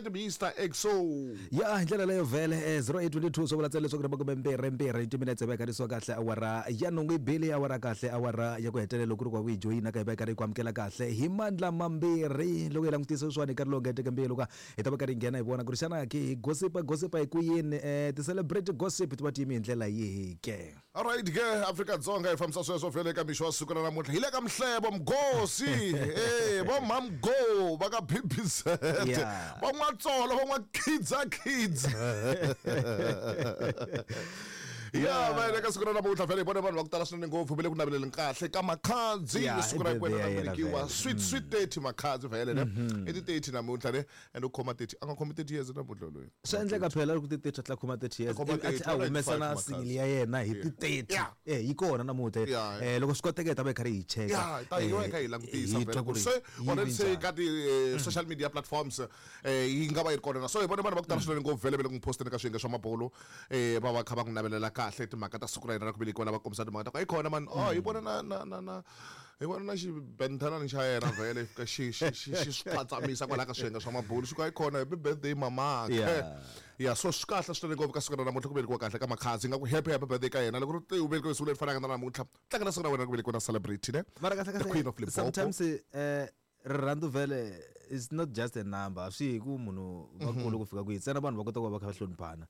Mr Exo. Ya hi ndlela leyo vhele 0822 swi vula ntsena leswaku ri makume mbirhi mbirhi timinetse va karisiwa kahle awara ya nhungu yi bile awara kahle awara ya ku hetelela loko ku ri ku yi joyina ka hi va yi karhi yi ku amukela kahle hi mandla mambirhi loko hi langutisa sweswiwani nkarhi lowu nga heteke mbilu ka hi ta va karhi hi nghena hi vona ku ri xana ki hi gossipa gossipa hi ku yini ti-celebrity gossip ti va ti yime hi ndlela yihi ke. Alright ke Afrika-Dzonga hi fambisa sweswo vhele eka mixo wa siku ra namuntlha hi le ka Mhlebo Mgosi eh vo Mhamgo va ka BBZ va N'watsolo va N'wakhidza Khidza ya va eka siku ra namuntlha vhele hi vone vanhu va ku tala swinene ngopfu va le ku naveleleni kahle ka Makhadzi siku ra kwena ra velekiwa sweet sweet 30 Makhadzi vhele ne i ti 30 namuntlha ne and u khoma 30 a nga khomi 30 years namuntlha loyi. Swa endleka phela loko ti 30 a tlhela a khoma 30 years Khoma ivi a 30, tlhela a humesa na 195 single ya yena hi ti 30 Yeah. eh yi kona namuntlha Yeah. eh loko swi koteka hi ta va hi karhi hi cheka ya hi ta hi va hi kha hi langutisa hi twa vhele ku ku ri se yi already vi se njhani. ka ti social media platforms yi nga va yi ri kona na so hi vone vanhu va ku tala swinene ngopfu vhele va le ku n'wi posteni ka swiyenge swa mabulu va va kha va n'wi navelela kahle timhaka ta siku ra yena ra ku velekiwa lava kombisa timhaka ta ku ayi khona mani oh hi vona na na na na hi vona na xibenthanani xa yena vhele fika xi xi xi xi swi phatsamisa kwalaha ka swiyenge swa mabulu xi ku ayi khona happy birthday mamakhe Yeah. ya so swi kahle swinene ngopfu ka siku ra namuntlha ku velekiwa kahle ka Makhadzi nga ku happy happy birthday ka yena loko ri u velekiwe siku leri fanaka na namuntlha tlangela siku ra wena ku velekiwa na celebrity ne mara kahle the queen kahle of Limpopo sometimes rirhandzu vhele is not just a number swi hi ku munhu vakulu ku fika kwihi ntsena vanhu va kota ku va va kha va hloniphana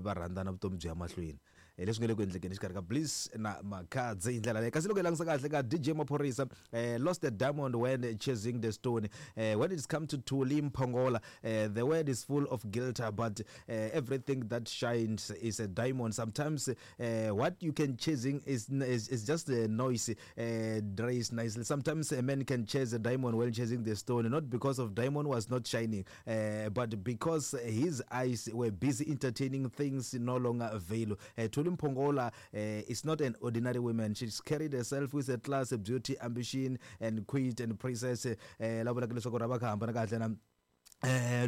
va rhandzana vutomi byi ya mahlweni hi leswi nga le ku endlekeni exikarhi ka Bliss na Makhadzi hi ndlela leyi kasi loko hi langutisa kahle ka DJ Maphorisa lost a diamond when chasing the stone when it's come to Thuli Mphongola the word is full of guilt but everything that shines is a diamond sometimes what you can chasing is is, is just a noise dress nicely sometimes a man can chase a diamond while chasing the stone not because of diamond was not shining but because his eyes were busy entertaining things no longer available. Thuli Mphongola is not an ordinary woman. She's carried herself with a class, beauty, ambition, and queen and princess. La vulaka leswaku ra va kha hambana kahle na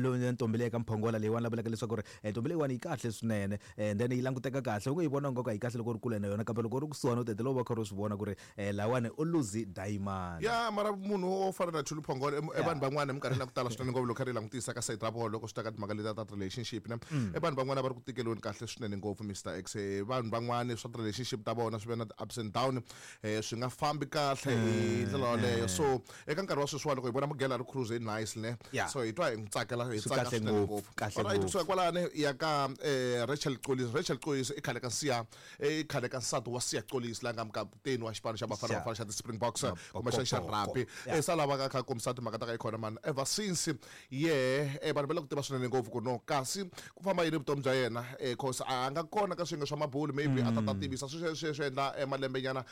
loyi ntombi leyi ka Mphongola leyiwani la vulaka leswaku ri ntombi leyiwani yi kahle swinene and then yi languteka kahle u nge yi vona nga ku a yi kahle loko u ri kule na yona kambe loko u ri kusuhani u tetela u va kha u swi vona ku ri lawani u lose diamond. Ya mara munhu wo fana na Thuli Phongolo i vanhu van'wana eminkarhini ya ku tala swinene ngopfu loko kha ri langutisa ka side ra vona loko swi ta ka timhaka letiya ta relationship ne i vanhu van'wana va ri ku tikeliweni kahle swinene ngopfu Mr X vanhu van'wana swa ti-relationship ta vona swi ve na ti-ups and down swi nga fambi kahle hi ndlela yoleyo so eka nkarhi wa sweswiwani loko hi vona Mugela a ri cruise nicely ne Yeah. so hi twa hi n'wi tsakela hi Swi tsaka kahle swinene ngopfu, ngopfu kahle Alright, ngopfu. kusuka kwalani hi ya ka Rachel Xolisi Rachel Xolisi i khale ka Siya i khale ka nsati wa Siya Xolisi la nga mukaputeni wa xipano xa Bafana Xa. Bafana xa ti-Springboks kumbexana xa Mabokoboko. rugby Yeah. se a lava kha kombisa timhaka ta ka yi khona mani ever since yehe vanhu va le ku tiva swinene ngopfu ku no kasi ku famba yini vutomi bya yena cause a nga kona ka swiyenge swa mabulu maybe a ta ta tivisa swi swi swi endla malembe nyana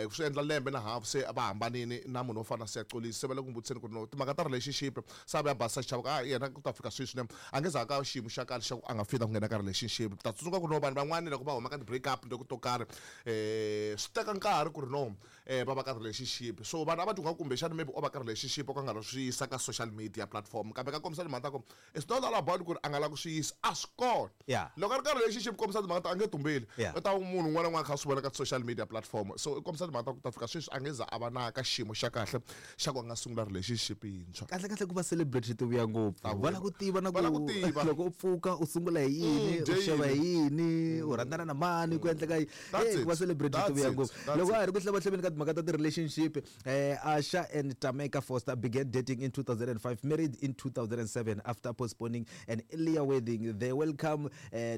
swi endla lembe na half se va hambanini na munhu wo fana na Siya Xolisi se va le ku n'wi vutiseni ku ri no timhaka ta relationship se a vuya basisa xichavo ku a yena ku ta fika sweswi ne a nge za ka xiyimo xa kahle xa ku a nga fita ku nghena ka relationship ta tsundzuka ku ri no vanhu van'wani loko va huma ka ti-break up loko to karhi swi teka nkarhi ku ri no va va ka relationship so vanhu a va twa kumbexana maybe o va ka relationship o ka nga ri swi yisa ka social media platform kambe ka kombisa timhaka ta ku it's not all about ku ri a nga lavi ku swi yisa a swi kona Yeah. loko a ri ka relationship kombisa timhaka ta a nge tumbeli Yeah. u ta munhu un'wana na un'wana kha a swi vona ka social media platform so i kombisa timhaka ta ku ta fika sweswi a nge za a va na ka xiyimo xa kahle xa ku a nga sungula relationship yintshwa kahle kahle ku va celebrity ti vuya ngopfu va lava ku tiva na Va lava ku ku tiva. loko u pfuka u sungula hi yini dye u xava hi yini. yini u rhandzana na mani ku endleka yini That's Hey, it. ku va celebrity ti That's vuya it. ngopfu That's loko it. a hi ri ku hlavahleveni ka timhaka ta ti-relationship Asha and Tameka Foster began dating in 2005 married in 2007 after postponing an earlier wedding they welcome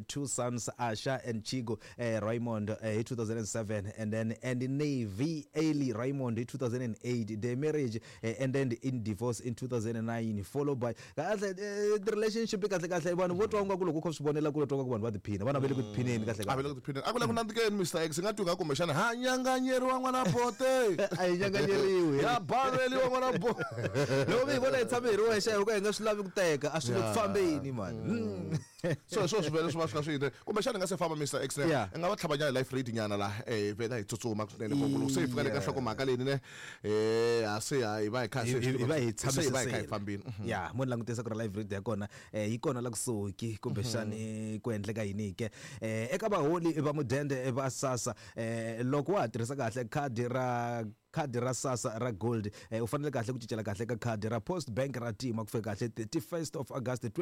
two sons Asha and Chigo Raymond in 2007 and then and Navy Ailey Raymond in 2008 their marriage ended in divorce in 2009 followed by kahle the relationship kahle kahle vanhu vo twa nga ku loko u kha swi vonela kule twa nga ku vanhu va tiphina vana va le ku tiphineni kahle a va kahle le ku tiphineni a ku le ku nandzikeni Mr X nga twi nga kumbexana ha nyanganyeriwa n'wana bote a hi nyanganyeriwi ya baveliwa n'wana bote loko mi hi vona hi tshame hi ri wexe hi ka hi nga swi lavi ku teka a swi le ku fambeni mani so hi swona swi vele swi va swi kha swi yini kumbexana hi nga se famba Mr X ne Yeah. i nga va tlhava nyana life read nyana la vhela hi tsutsuma swinene ku loko se hi fika le ka Yeah. nhlokomhaka leyi ne ha se ha hi va hi kha se hi va hi se hi va hi kha hi tshamisisile fambini ya mo ni langutisa ku ri live read ya kona yi kona la kusuhi kumbexani ku endleka yini ke eka vaholi va mudende va SASSA loko wa ha tirhisa kahle khadi ra Khadi ra SASSA ra gold, u fanele kahle ku cincela kahle ka khadi ra Post Bank ra tima ku fika kahle 31st of August.